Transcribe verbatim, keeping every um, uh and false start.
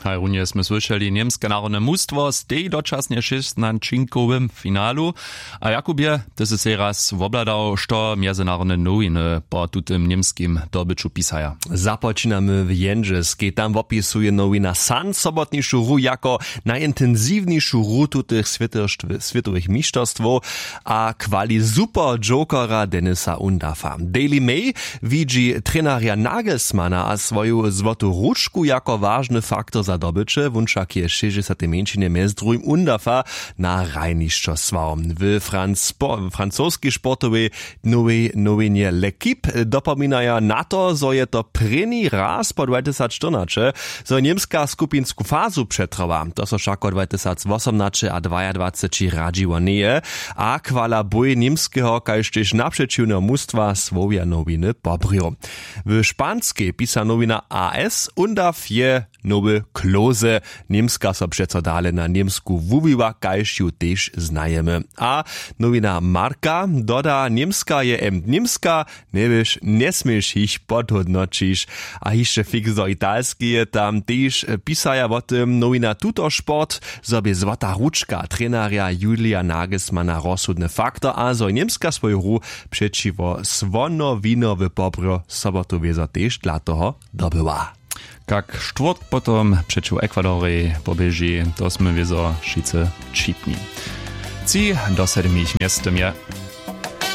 Haj runje smy słyšeli němske narodne mustwo stej dočasnje w šěstnaćinkowym finalu. A jakub je, ty sy sej raz wobhladał što mjezynarodne nowiny po tutym němskim dobyću pisaja? Započinamy w jendźelskej. Tam wopisuje nowina san sobotnišu hru jako najintensiwnišu hru tutych swětowych mišterstwow. A chwali super jokera denisa undafa. Daily may widźi trenarja nagelsmana a swoju złotu ručku jako wažny faktor za dobyće. Wón wšak je w šěsćdźesatej mjeńšinje mjez druhim undafa na hrajnišćo słał. W francoskej sportowej nowej nowinje l'equipe dopominaja na to, zo je to prěni raz po dwajtysacštyrnaće, zo je němska skupinsku fazu přetrała. To so wšako dwajtysacwosomnaće a dwajadwaceći radźiło njeje. A chwala bój němskeho kaž tež napřećiwneho mustwa słowja nowiny pobrjow. W španskej pisa nowina as undaw je nowy klose. Němska so přeco dale na němsku wuwiła kaž ju tež znajemy. A nowina marka doda, němska je em němska, njewěš njesměš jich podhódnoćić. A hišće fix do italskeje tam tež pisaja wo tym nowina tutosport, zo bě złota ručka trenarja julija nagelsmana rozsudny faktor a zo je němska swoju hru přećiwo słonowinowy pobrjo sobotu wězo tež dla toho dobyła. Kak štwórtk potom přećiwo ekwadorej poběži, to smy wězo wšitcy wćipni. Tři do sedmich mjeztym je.